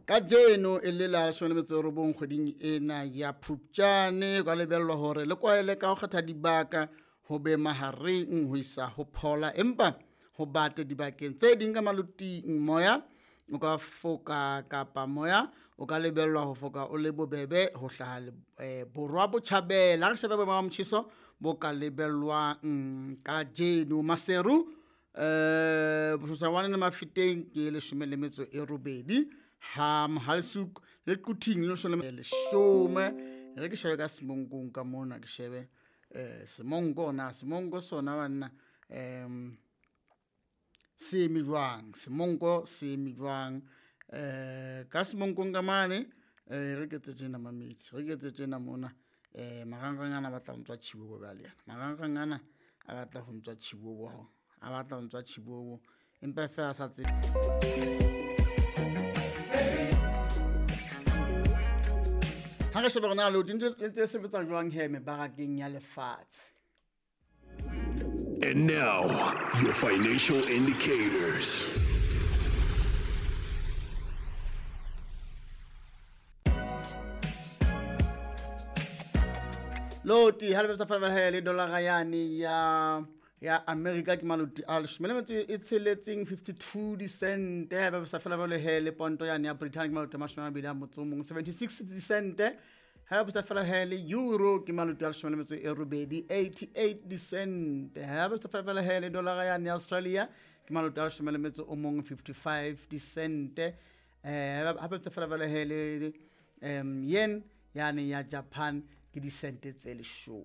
Kajeno e le la 19 kgweding ena ya Phupjane, kwa lebellwa hore le kwaele ka ho kgetha dibaka ho be mahareng ho isa ho phola, empa ho bate dibakeng tse ding ka maloting. Moya o ka foka kapa moya o ka lebellwa ho foka o le bobebe ho hlaha borwa botjhabela. Ha re shebe boemo ba motjheso bo ka lebellwang kajeno. Maseru Bososwane le Mafeteng ke 18, ha Mohale'shoek le Quthing le 10. Re ke shebe ka Semonkong ka mona, ke shebe Semonko na Semonko sona banna se eme jwang, Semonko se eme jwang ka Semonkong ka mane. Re ke tse tjena mamedi, re ke tse tjena mona. Marangrang ana a batla ho ntswa tjhibobo bjale, yana marangrang ana a batla ho ntswa tjhibobo, a batla ho ntswa tjhibobo, empa fela a sa tsebe. Ha re shebe rona le ntse sebetsa jwang he mebarakeng ya lefatshe. And now, your financial indicators. Loti ha le betsa fela he le dollar yane ya America ke maloti a 16, 52 dicent. Ha ba sa fela jwale he le ponto yane ya Britain ke maloti a 21, 76 dicent. Ha ba sa fela he le euro ke maloti a 18, 88 dicent. Ha ba sa fela he le dollar yane ya Australia ke maloti a 11, 55 dicent. Ha ba sa fela jwale he le yen yane ya Japan ke dicent tse 10.